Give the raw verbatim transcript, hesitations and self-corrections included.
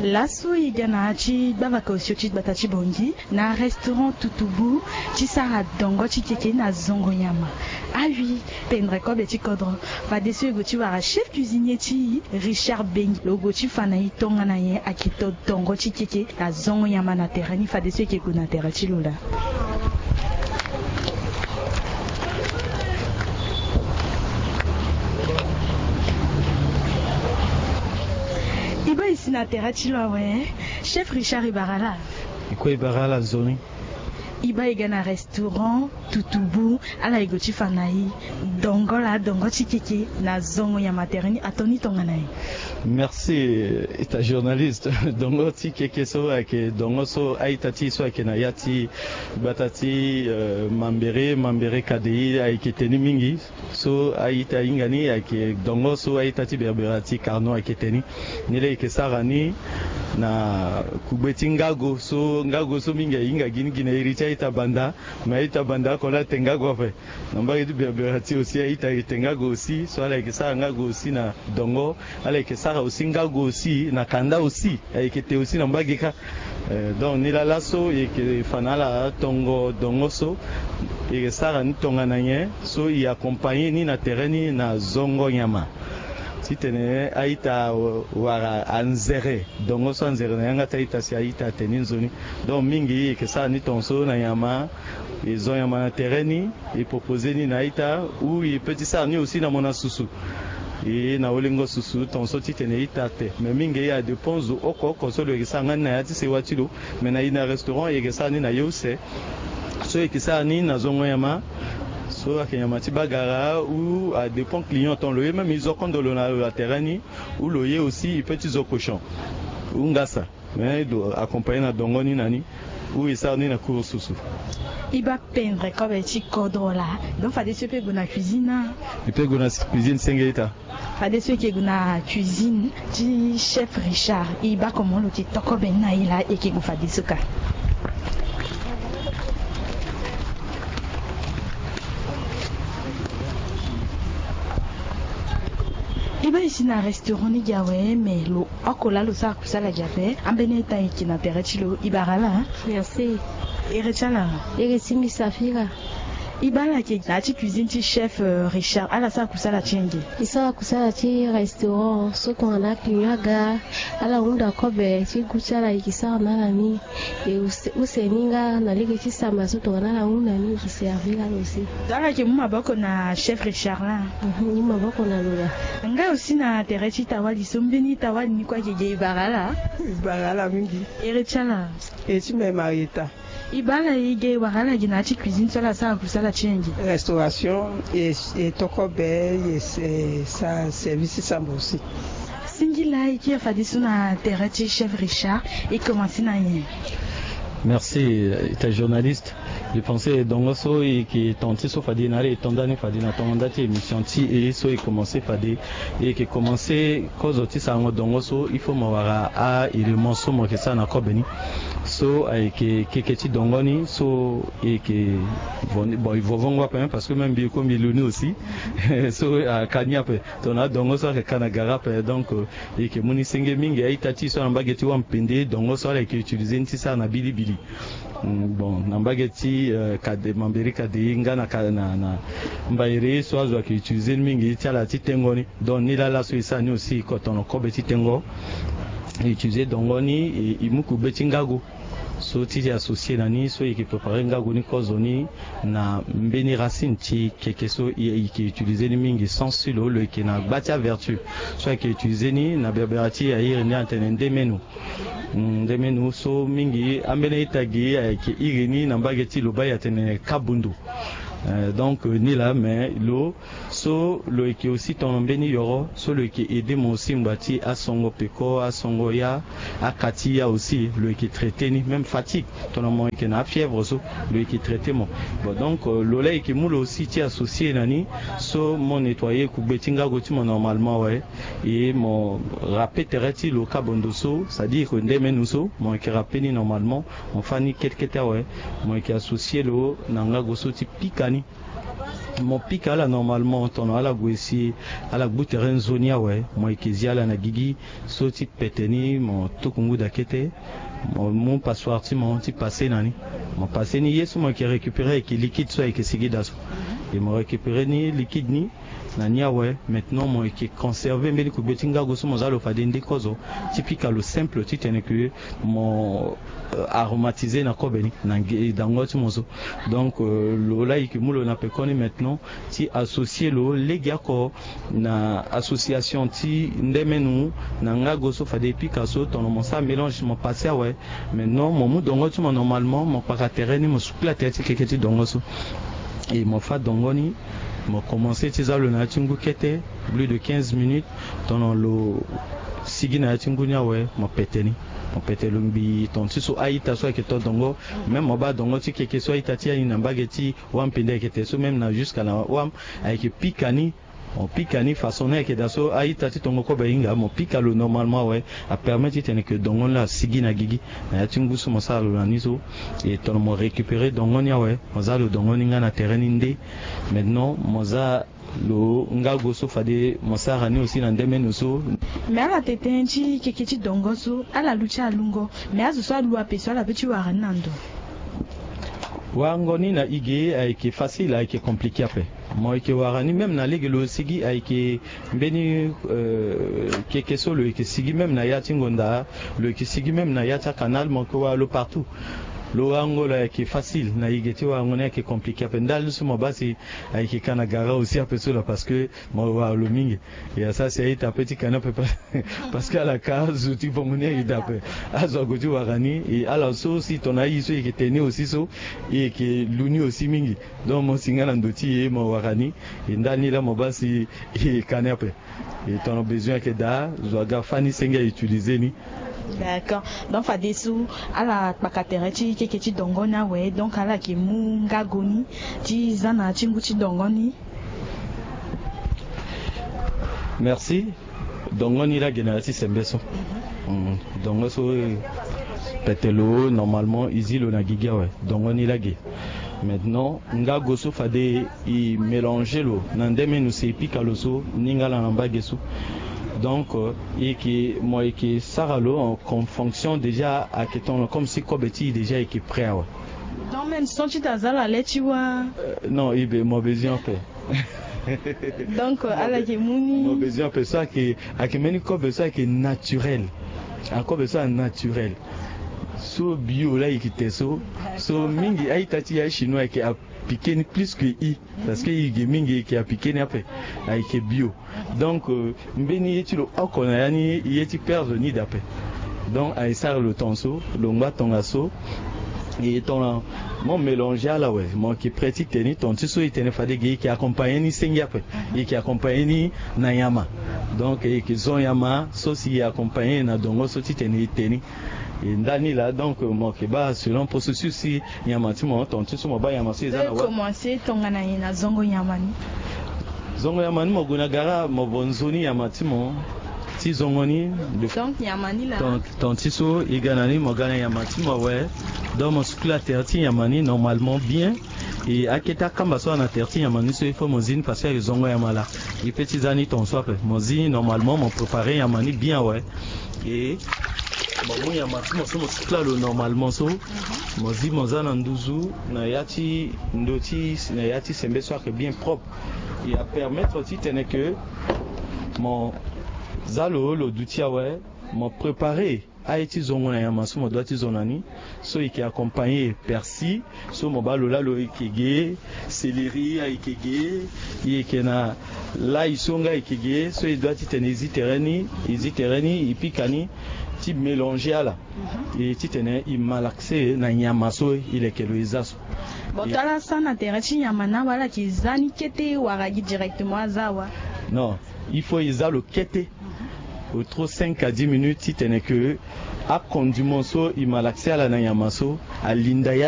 Laso e ga na ya ti gbavaka osio ti gbata ti Bangui na restaurant Tutubu ti sara dongo ti keke na zongo nyama. Awi, pendre kobe ti kodro. Fadeso e gue ti wara chef cuisinier ti e, Richard Bengi, lo gue ti fa na e tongana nyen ayeke to dongo ti keke na zongo nyama na tere ni. Fadeso e yeke gue na tere ti lo laa. E baa e si na tere ti lo awe. Chef Richard, e bara laa. E kue e bara ala nzoni. E baa e ga na restaurant Tutubu, ala e gue ti fa na e dongo laa, dongo ti keke na zongo nyama tere ni, ato ni tongana nyen? Merci, ita journaliste. Dongo ti keke so ayeke dongo so a-ita ti e so ayeke na ya ti gbata ti, euh, Mambéré, Mambéré Kadéï, ayeke teni mingi. So a-ita hinga ni ayeke dongo so a-ita ti Berbera ti Carnot ayeke teni. Ni laa e yeke sara ni na kugbe ti ngago so, ngago so mingi ahinga gi ni gi na iri ti a-ita banda. Me a-ita banda oko laa ate ngago ape. Na mbage ti Berbera ti aussi a-ita ayeke te ngago aussi. So ala yeke sara ngago aussi na dongo. Ala yeke sara aussi ngago aussi na kanda aussi. Ayeke te aussi na mbage kâ. Eh, donc ni laa laso e yeke fa na ala tongo dongo so e yeke sara ni tongana nyen, so e accompagner ni na tere ni na zongo nyama. Titene a-ita wara anzere dongo so anzere na yanga ti a-ita si a-ita ate ni nzoni. Donc mingi e yeke sara ni tongaso na nyama, e zo nyama na tere ni, e proposer ni na a-ita, ou e peut ti sara ni aussi na mona susu. E na olengo susu tongaso titene a-ita ate. Me mingi e a dépend zo oko oko so lo yeke sara nga ni na ya ti sewa ti lo. Me na e na restaurant e yeke sara ni na ye use. So e yeke sara ni na zongo nyama, so ayeke nyama ti bagara, ou a dépend client ton lo ye, même e zo kondo lo na lo na tere ni, ou lo ye aussi e peut ti zo cochon ou ngasa. Mais e doit accompagner na dongo ni na ni, ou e sara ni na cour susu. E baa pendre kobe ti kodro laa. Donc fadeso e peut gue na cuisine na? E peut gue na cuisine senge ita. Fadeso e yeke gue na cuisine ti chef Richard. E baa comment lo yeke to kobe ni na e laa, e yeke gue fadeso kâ. E baa e si na restaurant ni gi awe, me lo oko laa lo sara kusala gi ape. Ambeni a-ita ayeke na tere ti lo. E bara laa. Merci. Ere ti ala? Ere ti mbi Safira. E baa ala yeke na ya ti cuisine ti chef, euh, Richard, ala sara kusala ti yenge? E sara kusala ti restaurant so tongana client aga, ala hunda kobe ti gu ti ala e yeke sara na ala ni. E use, use ni nga na lege ti samba so tongana ala hunda ni e yeke servir ala aussi. Donc ala yeke mu maboko na chef Richard laa? Mhm, e mu maboko na lo laa. Nga aussi na tere ti tawali so, mbeni tawali ni kue ayeke ge? E bara ala? E bara ala mingi. Ere ti ala? Ere ti mbi Marieta. E baa ala e ge, e wara ala ge na ya ti cuisine so ala sara kusala ti yenge? Restauration, e, e to kobe, e, e sara service ti samba aussi. Singila e kiri fadeso na tere ti chef Richard, e commencer na nyen? Merci, euh, ita journaliste. Je pensais dongo so e yeke ton ti so fade na ala e to nda ni fade na tongo nda ti émission ti e so e commencer fade. E yeke commencer kozo ti sarango dongo so, il faut mo wara a-élément so mo yeke sara na kobe ni. So ayeke keke ti dongo ni so e yeke vo ni, bon, e vo vongo ape, hein, parce que même mbi e kue mbi lu ni aussi. So aka ni ape. Tongana adongo so ayeke ka na gara ape, donc, euh, e yeke mu ni senge mingi. A-ita ti e so na mbage ti Wampende, dongo so ala yeke utiliser ni ti sara na bilibili. Mm, bon, na mbage ti, euh, Kade, Mambéré Kade nga na ka, na, na Mbaéré so azo ayeke utiliser ni mingi ti ala ti tengo ni. Donc ni laa laso e sara ni aussi, kotono kobe ti tengo. E utiliser dongo ni, e, e mu kugbe ti ngago so ti, ti associer na ni, so e yeke préparer ngago ni kozo ni na mbeni racine ti keke so e, e yeke utiliser ni mingi, sans silo, lo yeke na gba ti avertu. So ayeke utiliser ni na berbera ti e, a iri ni atene ndemenu. Mm, ndemenu so mingi ambeni a-ita gi ayeke iri ni na mbage ti Lobaye atene kabundu. Euh, donc, euh, ni laa, mais lo so lo yeke aussi tongana mbeni yoro so lo yeke aider mo aussi ngbanga ti asongo peko, asongo ya, aka ti ya aussi lo yeke traiter ni, même fatigue, tongana mo yeke na afièvre so lo yeke traiter mo. Bon, donc, euh, lo laa e yeke mu lo aussi ti associer na ni, so mo nettoyer kugbe ti ngago ti mo normalement awe. E mo râper tere ti lo kabondo so, c'est-à-dire que ndemenu so mo yeke râper ni normalement, mo fâ ni kete kete awe. Mo yeke associer lo na ngago so ti pika ni. Mo pika ala normalement, tono ala gue si ala gbu tere nzoni awe, mo yeke zi ala na gigi. So ti pete ni mo tuku nguda kete, mo mu passoire ti mo ti passe na ni. Mo passe ni, ye so mo yeke récupérer ayeke liquide so ayeke sigi daa so. E mo récupérer ni liquide ni na ni awe. Maintenant mo yeke conserver mbeni kugbe ti ngago so mo za lo fade nde kozo, ti pika lo simple titene ke mo euh, aromatiser na kobe ni na nge- dango ti mo so. Donc euh, lo la yeke mu lo na pekoni maintenant ti associer lo lege oko na association ti ndemenu na ngago so fade e pika so, tono mo sara mélange, mo passe awe. Maintenant mo mu dongo ti mo normalement, mo kpaka tere ni, mo sukula tere ti keke ti dongo so. E mo fâ dongo ni, mo commencer ti za lo na ya ti ngu kete, plus de quinze minutes. Tono lo sigi na ya ti ngu ni awe, mo pete ni. Mo pete lo ngbii, tono ti so a-ita so ayeke to dongo. Même mo baa dongo ti keke so a-ita ti aye ni na mbage ti wâ mpende ayeke te so, même na jusqu'à na wâ ayeke pika ni. Mo pika ni façon ni ayeke daa so, a-ita ti tongo kobe ahinga, mo pika lo normalement awe. Apermet titene ke dongo ni la asigi na gigi na ya ti ngu so mo sara lo na ni so. E tono mo récupérer dongo ni awe, mo za lo dongo ni nga na tere ni nde. Maintenant mo za lo ngago so fade mo sara ni aussi na ndemenu so. Me ala tene ti keke ti dongo so, ala lu ti alungo. Me azo so alu ape so, ala pe ti wara ni na ndo? Warango ni na e ge ayeke facile, ayeke compliqué ape. Mo yeke wara ni même na lege lo sigi, ayeke mbeni euh, keke so lo yeke sigi même na ya ti ngonda, lo yeke sigi même na ya ti akanal, mo yeke wara lo partout. Lo warango lo ayeke facile, na e ge ti warango ni ayeke compliqué ape. Ndali so mo baa si ayeke ka na gara aussi ape so la, parce que mo wara lo mingi. E asara si a-ita pe ti ka ni ape pa- parce que ala ka azo ti vongo ni a-ita ape. Azo ague ti wara ni, e ala so si tono aye so e yeke tene ni aussi so, e yeke lu ni aussi mingi. Donc mo si nga na ndo ti e, mo wara ni. E ndali ni la mo baa si e ka ni ape. E tono besoin ayeke daa, zo aga fâ ni senge a utiliser ni. D'accord. Donc fadeso ala kpaka tere ti keke ti dongo ni awe, donc ala yeke mu ngago ni ti za na ya ti ngu ti dongo ni. Merci. Dongo ni lage na ya ti sembe so. Mm, dongo so, eh, pete lo normalement e zi lo na gigi awe. Dongo ni lage. Maintenant ngago so fade e mélanger lo na ndemenu si e pika lo so, ni nga laa na mbage so. Donc euh, e yeke, mo yeke sara lo en con- fonction déjà ayeke tono comme si kobe ti e déjà ayeke prêt awe. Donc même sans ti ta za la le ti wa. Euh, non, e be mo besoin ape. Donc euh, ala yeke mu ni. Mo besoin ape so ayeke, ayeke mbeni kobe so ayeke naturel. Akobe so a naturel. So bio la e yeke te so. So mingi a-ita ti e achinois ayeke apike ni plus que e. Parce que e ge mingi e yeke apike ni ape. Ayeke bio. Donc euh, mbeni ye ti lo oko na ya ni, ye ti perdre ni daa ape. Donc aye sara lo tongaso, lo ngba tongaso. E tongana mo mélanger ala awe, mo yeke prêt ti te ni. Tonga ti so e tene fade ge e yeke accompagner ni senge ape. E yeke accompagner ni na nyama. Donc e yeke zo nyama so si e accompagner na dongo so titene e te ni. E ndani laa, donc mo yeke baa selon processus ti nyama ti mo. Tonga ti so mo baa nyama so e za na wâ. Commencer tongana nyen na zongo nyama ni? Zongo nyama ni, mo gue na gara, mo vo nzoni nyama ti mo ti zongo ni. Donc nyama ni laa. Ton- tonga ti so e ga na ni, mo ga na nyama ti mo awe. Donc mo sukula tere ti nyama ni normalement bien. E akete akamba so ana tere ti nyama ni so, il faut mo zi ni parce que zongo nyama laa. E pe ti za ni tongaso ape. Mo zi ni normalement, mo préparer nyama ni bien awe. E mo mu nyama ti mo so, mo sukula lo normalement so. Mo zi, mo za na nduzu na ya ti ndo ti, na ya ti sembe so ayeke bien propre. E apermettre titene ke mo za lo, lo duti awe. Mo préparer aye ti zongo na nyama so mo doit ti zo na ni. So e yeke accompagner persil, so mo baa lo laa lo yeke ge, céleri ayeke ge, e yeke na l'ail so nga ayeke ge. So e doit titene e zi tere ni, e zi tere ni, e pika ni, ti mélanger ala. E titene e malaxe na nyama so e leke lo e za so. Bon, tala sara na tere ti nyama ni awe, ala yeke za ni kete wala gi directement aza awe? Non, il faut e za lo kete. Au trop cinq à dix minutes titene ke acondiment so e malaxe ala na nyama so alinda ya.